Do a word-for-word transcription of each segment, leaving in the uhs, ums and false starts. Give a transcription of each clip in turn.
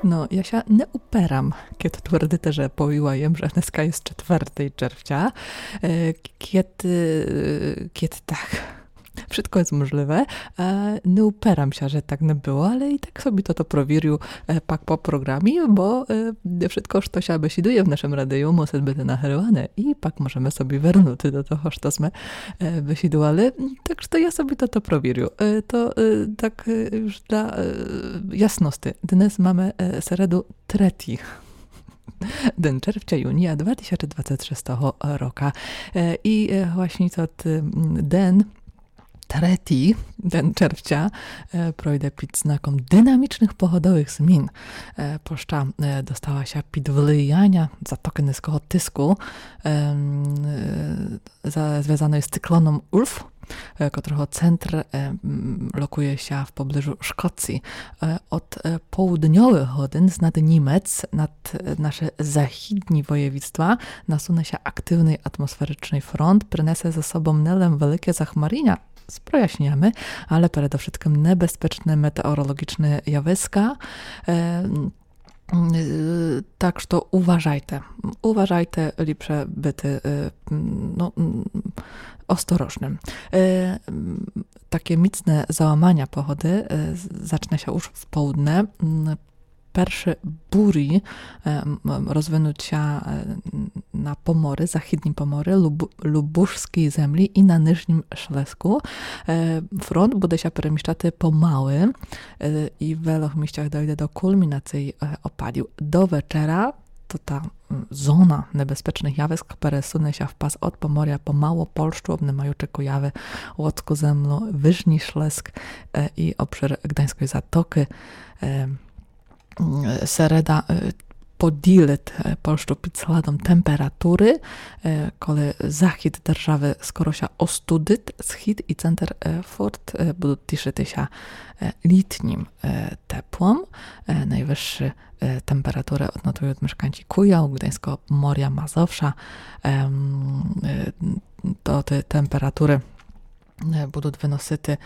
Но, я ся не уперам, кєд твердите, же повіла єм, же днеска єст четвертий червця. Е, кєд, е, кєд так, вшытко єст можліве. Е, не уперам ся, же так не было, але і так собі тото провірю, е, пак по програмі, бо, е, вшытко, што ся бесідує в нашым радию, мусит быти нагрыване і пак можеме собі вернути до того, што сме, е, бесідували. Так што я собі тото провірю. Е, то, е, так, е, юж для, е, ясности. Днес маме, е, середу, трети ден червця, юнія два тисячы двадцет шестого рока. Е, і, е, власні тот, м, ден, трети ден червця, е, пройде під знаком динамічных погодовых змін. Е, площа, е, достала ся під влияня затокы низкого тиску, ем, е, за-, звязаної з циклоном Улф, е, котрого центр, е, м, локує ся в поближу Шкоциі. Е, од, е, поудньовых годин знад Німец над, е, наше західні воєвідства насуне ся активный атмосферичный фронт, принесе за собом не лем великє захмаріня з прояснінями, але передовшыткым небезпечны метеоролоґічны явиска. Е, м, е, так што уважайте. Уважайте, ліпше быти, е, м, но, м, осторожным. Е, м, такє міцне заламаня погоды, е, з-, зачне ся юж в поудне. М, першы бурі, е, м, м, розвинут ся, е, н-, на Поморі, західні Поморі, Люб-, Любушскій землі і на Нижнім Шлеску. Е, фронт буде ся переміщати помалы, е, і в велох місцях дойде до кульмінациі, е, опадів. До вечера то та, м, зона небезпечных явиск пересуне ся в пас од Поморя по Малопольщу, обнимаючы Куявы, Луцку землю, Выжні Шлеск, е, і обшыр Гданьской Затокы. Е, м, середа, е, поділит, е, Польщу під сладом температуры, е, коли захід державы скоро ся остудит, схід і центр, е, фурт, е, будут тішыти ся, е, літнім, е, теплом. Е, найвысшы, е, температуры однотуют мешканці Куяв, Гданьского, Поморя, Мазовша. Ем, е, то тоты температуры е, будут выносити,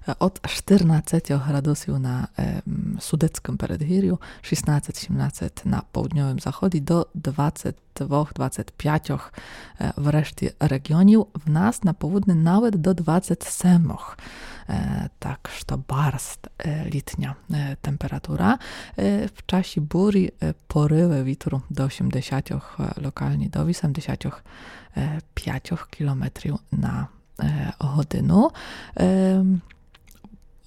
е, од штырнадцятьох градусів на, е, м, Судецькым передгірю, шістнадцять-сімнадцять на поудньовым заході до двадцять двох, двадцять пятьох, е, в решті реґіонів. В нас на повудни навет до двадцять семох. Е, так што барз, е, літня, е, температура. Е, в часі бурі, е, порывы вітру до сімдесятьох, е, локалні до вісемдесятьох, е, пятьох кілометрів на е, годину. Е,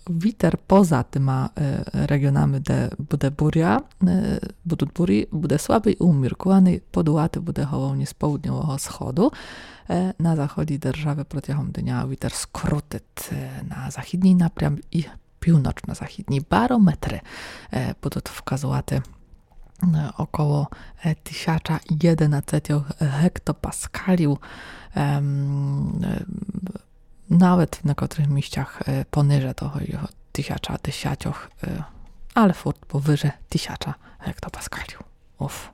вітер поза тыма, е, реґіонами, де буде буря, е, будут бурі, буде слабый і уміркуваный, подувати буде головні з поудньового сходу. Е, на заході державы протягом дня вітер скрутит, е, на західній напрям і півночно-західній. Барометры, е, будут вказувати, е, около, е, тисяча єдинадцятьох гектопаскалів, ем, е, навет в некотрых місцях, е, пониже того його тисяча десятьох, е, але фурт повыже тисяча гектопаскалів. Уф.